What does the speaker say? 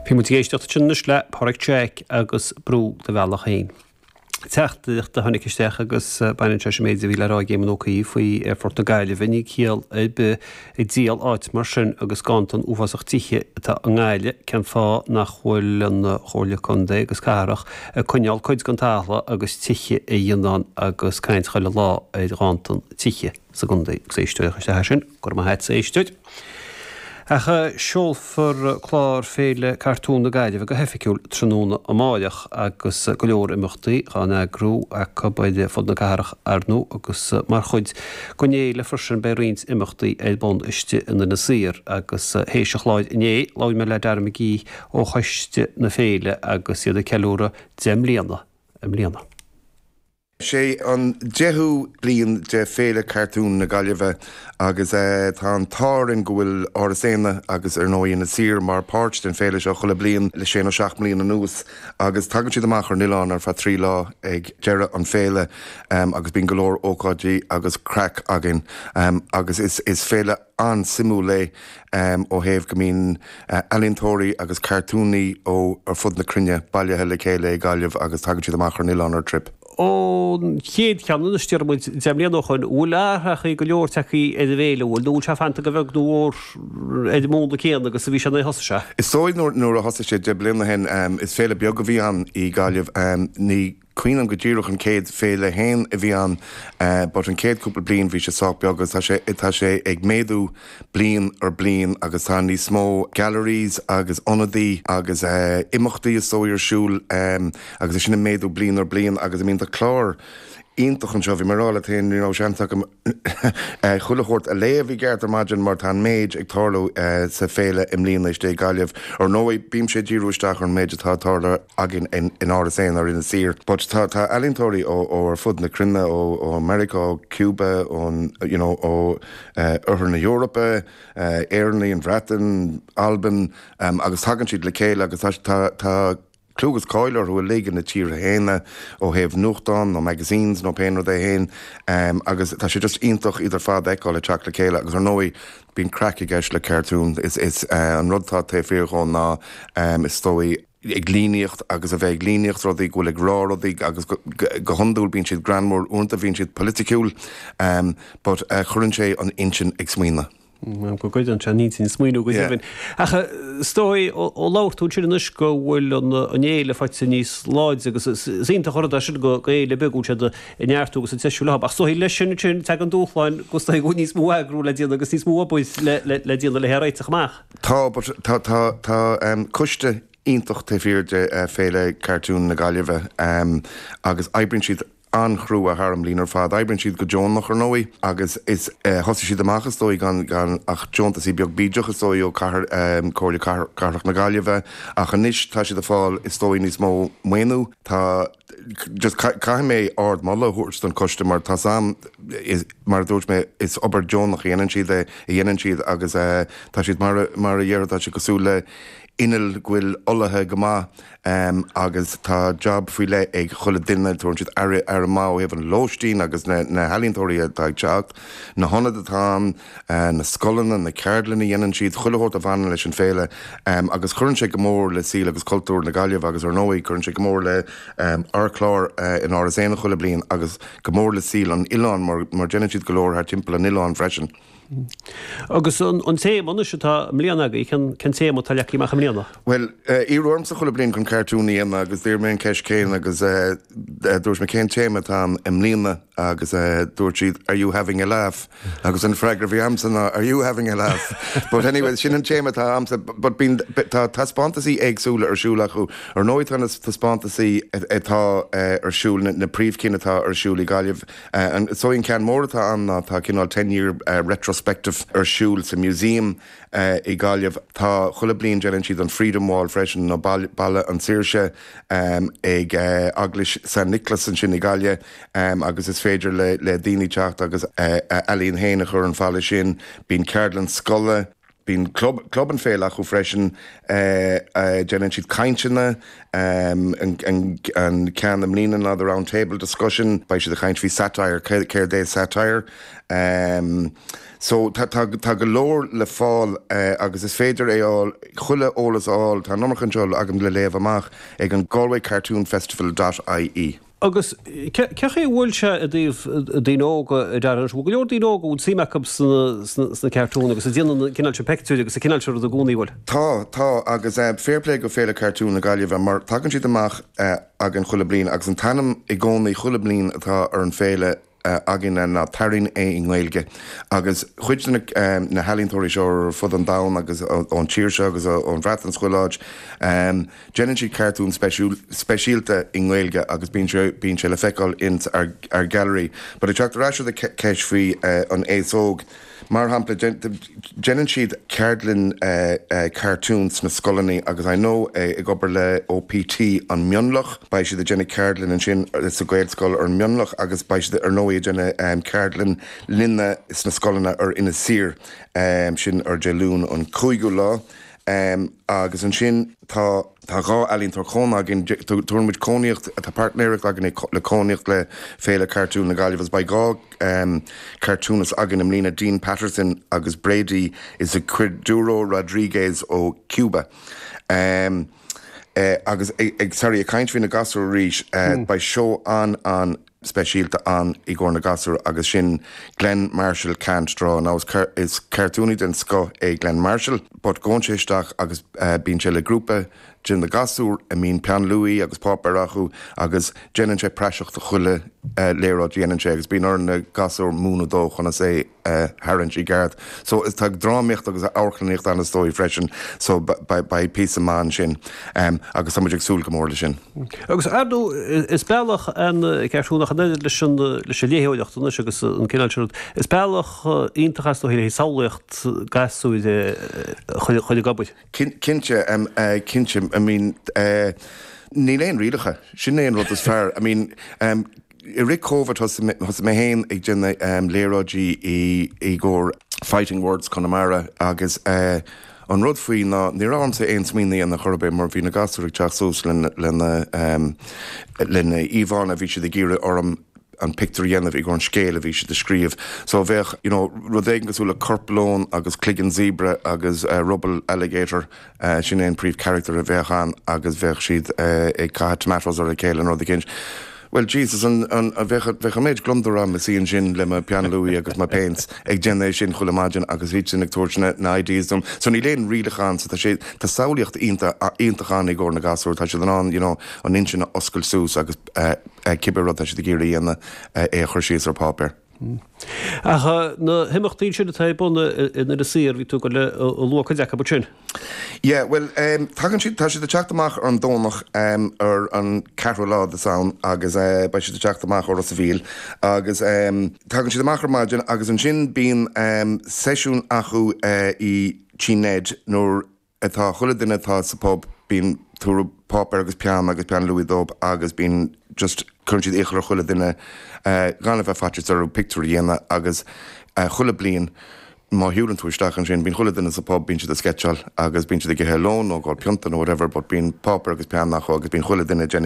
Bhí muid ag éisteacht ansin anois le Páraic Jack agus Brú do Bhealach Féin. Teachtaireacht a tháinig isteach agus baineann sé leis an méid a bhí le rá ag Éamon Ó Cuív faoi Aerfort na Gaillimhe. Níl ciall ar bith ag díol áit mar sin agus ganntan uafásach tithe atá i nGaillimh. Cén fáth nach bhfuil an Chomhairle Contae agus Cathrach ag coinneáil cuid den talamh agus tithe a dhéanamh ann agus caint chuile lá ar ghanntan tithe sa gcontae? Agus éisteoir a chuir isteach é sin. Go raibh maith a't, a éisteoir. Ach seolfar clár Féile Cartún na Gaillimhe go hoifigiúil tráthnóna amáireach agus go leor imeachtaí dhá n-eagrú acu ar fud na cathrach ar ndóigh agus mar chuid den fhéile freisin beidh roinnt imeachtaí ar bun istigh in Inis Oírr agus théis an chláir inné labhair mé le Dara McGee ó choiste na féile agus iad ag ceiliúradh 10 mbliana i mbliana. Sé an deichiú bliain de Féile Cartún na Gaillimhe agus tá an t-ádh orainn go bhfuil Áras Éanna agus ar ndóigh Inis Oírr mar páirt den féile seo chuile bliain le sé nó seacht mbliana anuas agus tagann siad amach ar an oileán ar feadh 3 lá ag deireadh an féile agus bíonn go leor ócáidí agus craic againn agus is féile an-suimiúil é ó thaobh go mbíonn ealaíontóirí agus cartúnaí ó ar fud na cruinne bailithe le chéile i Gaillimh agus tagann siad amach ar an oileán ar trip. Ón chéad cheann anois, déarfaidh muid, 10 mbliana ó shoin, an bhfuil athrachaí go leor tagtha ar an bhféile, an bhfuil, nó an bhfuil sé fanta go bheag nó mhór ar an múnla céanna agus a bhí sé nuair a thosaigh sé? Is dóigh nuair a thosaigh sé 10 bliana ó shin, is féile beag a bhí ann i Gaillimh. Ní cuimhin liom go díreach an chéad féile fhéin a bhí ann but an chéad cúpla bliain bhí sé sách beag agus tá sé tá sé ag méadú bliain ar bliain agus tá níos mó galleries agus ionadaí agus imeachtaí is dóigh ar siúl agus é sin ag méadú bliain ar bliain agus I mean tá clár iontach anseo. Bhí mé ag rá leat féin ní raibh seans agam chuile shórt a léamh i gceart ar maidin mar tá an méid ag tarlú sa féile i mbliana istigh i Gaillimh. Ar ndóigh, bímse ag díriú isteach ar an méid atá ag tarlú againn in Áras Éanna ar Inis Oírr. But tá tá ealaíontóirí ó ó ar fud na cruinne, ó ó Meiriceá, ó Cuba, ón you know ó Oirthear na hEorpa, Éireannaigh, an Bhreatain, Albain, agus tagann siad le chéile agus tá tá tá clú agus cáil orthu uilig ina tíortha fhéin ó thaobh nuachtán nó magazines nó pé rud é fhéin agus tá sé just iontach iad ar fad a fheiceáil ag teacht le chéile agus ar ndóigh bíonn craic i gceist le cartoon. Is is an rud atá taobh thiar dhó ná is dóigh ag líníocht agus a bheith ag líníocht rudaí go bhfuil ag rá rudaí agus go go hiondúil bíonn siad greannmhar uaireanta bíonn siad politiciúil but cuireann sé an intinn ag smaoineamh. Go gcuireann sé an intinn ag smaoineamh go deimhin. Ach is dóigh ó labhair tú ansin anois go bhfuil an fhéile faighte níos láidre agus is iontach an rud é sin go fhéile beag go bhfuil siad ag neartú agus ag treisiú leo. Ach is dóigh leis sin ansin tagann dúshláin go is dóigh go bhfuil níos mó eagrú le déanamh agus níos mó obair le déanamh le hé a réiteach amach. Tá, but tá tá tá coiste iontach taobh thiar de Féile Cartún na Gaillimhe agus oibríonn siad an-chrua thar an mbliain ar fad. Oibríonn siad go deonach, ar ndóigh, agus is thosaigh siad amach, is dóigh, gan gan ach deontasaí beag bídeach, is dóigh, ó cathair, Comhairle Cathrach na Gaillimhe, ach anois tá siad ag fáil, is dóigh, níos mó maoiniú. Tá, just caithfidh mé ard-mholadh a thabhairt don choiste mar tá's a'm, is, mar a dúirt mé, is obair deonach a dhéanann siad é, a dhéanann siad agus tá siad mar, mar a déarfá, tá siad cosúil le inneall go bhfuil olaithe go maith agus tá job faoi leith ag chuile duine, tabharann siad aire, aire maith ó thaobh an lóistín agus na na healaíontóirí atá ag teacht, na hionaid atá ann, na scoileanna, na ceardlanna a dhéanann siad, chuile shórt a bhaineann leis an féile agus cuireann sé go mór le saol agus cultúr na Gaillimhe agus ar ndóigh cuireann sé go mór le ár clár in Áras Éanna chuile bliain agus go mór le saol an oileáin mar mar déanann siad go leor thar timpeall an oileáin freisin. Agus an téama anois atá i mbliana agaibh, cén cén téama atá leagtha amach i mbliana? Bhuel, iarradh ormsa chuile bliain chun cartún a dhéanamh agus d'iarr mé an ceist céanna agus dúirt mé cén téama atá ann i mbliana agus dúirt siad are you having a laugh? Agus an freagra a bhí a'msa ná are you having a laugh? But anyway, sin an téama atá a'msa but bíonn, tá taispeántasaí éagsúla ar siúl acu. Ar ndóigh tá na taispeántasaí atá ar siúl, na príomhchinn atá ar siúl i Gaillimh, So an ceann mór atá ann ná tá cineál ten year retrospective ar siúl sa museum i Gaillimh. Tá, chuile bliain déanann siad an Freedom Wall freisin nó Balla an Saoirse ag Eaglais San Nioclás ansin i Gaillimh agus is féidir le daoine teacht agus a ealaín féin a chur ar an bhalla sin. Bíonn ceardlann scoile. Bíonn club, club an féile acu freisin, déanann siad cainteanna, an ceann i mbliana ná the round table discussion, beidh siad ag caint faoi satire, céard é satire? So tá, tá, tá go leor le fáil agus is féidir é fháil, chuile eolas a fháil, tá an iomarca anseo agam le léamh amach ag an Galway Cartoon Festival dot ie. Agus cé chaoi a bhfuil sé i dtaobh daoine óga a Darren? Bhfuil go leor daoine óga a bhfuil suim acu sna cartúin agus a déanann an cineál sin peictiúirí agus an cineál sin rud i gcónaí, bhfuil? Tá, tá, agus fair play go Féile Cartún na Gaillimhe mar tagann siad amach againn chuile bliain agus an t-ainm i gcónaí chuile bliain atá ar an féile againne ná Tarraing é i nGaeilge agus cuid de na healaíontóirí seo ar fud an domhain agus ón tír seo agus ón Bhreatain is chuile áit, déanann siad cartún speisialta i nGaeilge agus bíonn sé bíonn sé le feiceáil ins ár ár gallery. But ag teacht ar ais ar do cheist faoi an aos óg, Mar shampla, déanann siad ceardlann cartún sna scoileanna agus I know ag obair le OPT an Mionlach, beidh siad ag déanamh ceardlann ansin sa Ghaelscoil ar an Mionlach agus beidh siad ar ndóigh ag déanamh ceardlann linne sna scoileanna ar Inis Oírr, sin ar Dé Luain an 5ú lá. Agus ansin tá. Tá 2 ealaíontóir cónaithe againn, tabharann muid cónaíocht, tá páirtnéireacht againn le cónaíocht le Féile Cartún na Gaillimhe agus beidh 2 cartúnist againn i mbliana, Dean Patterson agus Brady Izquierdo Rodriguez ó Cuba. Agus ag, sorry, ag caint faoi na gasúir arís, beidh seó an-an. speisialta ann i gcomhair na gasúr agus sin Glenn Marshall Can't Draw. Now is is cartúnaí den scoth é Glenn Marshall but gabhann sé isteach agus bíonn sé le grúpa de na gasúir a mbíonn peann luaí agus páipéar acu agus déanann sé praiseach de chuile léaráid a dhéanann sé agus bíonn ar na gasúir múineadh dó conas é a tharraingt i gceart. So is tá drámaíocht agus amharclannaíocht ann is dóigh freisin so beidh píosa maith ansin agus tá muid ag súil go mór leis sin. Agus ar ndóigh is bealach an cartún ach an oiread leis an leis an léitheoireacht anois agus an cineál sin rud, is bealach iontach is dóigh le haghaidh samhlaíocht gasúir a chur ag obair. Cinnte, cinnte, I mean níl aon rialacha, sin é an rud is fearr. I mean I rith Covid thosaigh mé féin ag déanamh léaráidí i gcomhair Fighting Words Conamara agus an rud faoi ná ní raibh ormsa aon smaoineamh a dhéanamh chor ar bith mar bhí na gasúir ag teacht suas lena lena íomhánna a bhí siad ag iarraidh orm an pictiúr a dhéanamh i gcomhair an scéil a bhí siad a scríobh. So bheadh you know rud éigin cosúil le corp leon agus cloigeann zebra agus ruball alligator Sin é an príomh character a bheadh ann agus bheadh siad ag caitheamh tomatoes ar a chéile nó rud eicínt. Bhuel Jesus an an bheadh bheadh an méid gliondar a'm ag suí ansin le mo peann luaí agus mo paints ag déanamh é sin chuile maidin agus iad sin ag tabhairt na na ideas dom. So níl aon rialacha ann so tá sé tá samhlaíocht iontach iontach ann i gcomhair na gasúr. Tá siad in ann you know an intinn a oscailt suas agus cibé rud tá siad ag iarraidh a dhéanamh é a chur síos ar páipéar. Ach na himeachtaí sin atá ar bun in Inis Oírr, bhí tú ag dul a lua cuid acu ansin. Yeah, bhuel, tagann siad, tá siad ag teacht amach ar an Domhnach ar an ceathrú lá de Samhain agus beidh siad ag teacht amach ó Ros a' Mhíl agus tagann siad amach ar maidin agus ansin bíonn seisiún acu i Tí Ned nuair atá chuile duine atá sa pub, bíonn tabhair páipéar agus peann agus peann luaí dóibh agus bíonn just cuireann siad iachall ar chuile duine gan a bheith faitíos orthu pictiúr a dhéanamh agus chuile bliain má shiúlann tú isteach ansin bíonn chuile duine sa pub bíonn siad ag sceitseáil agus bíonn siad ag ithe lón nó ag ól pionta nó whatever but bíonn páipéar agus peann acu agus bíonn chuile duine ag déanamh.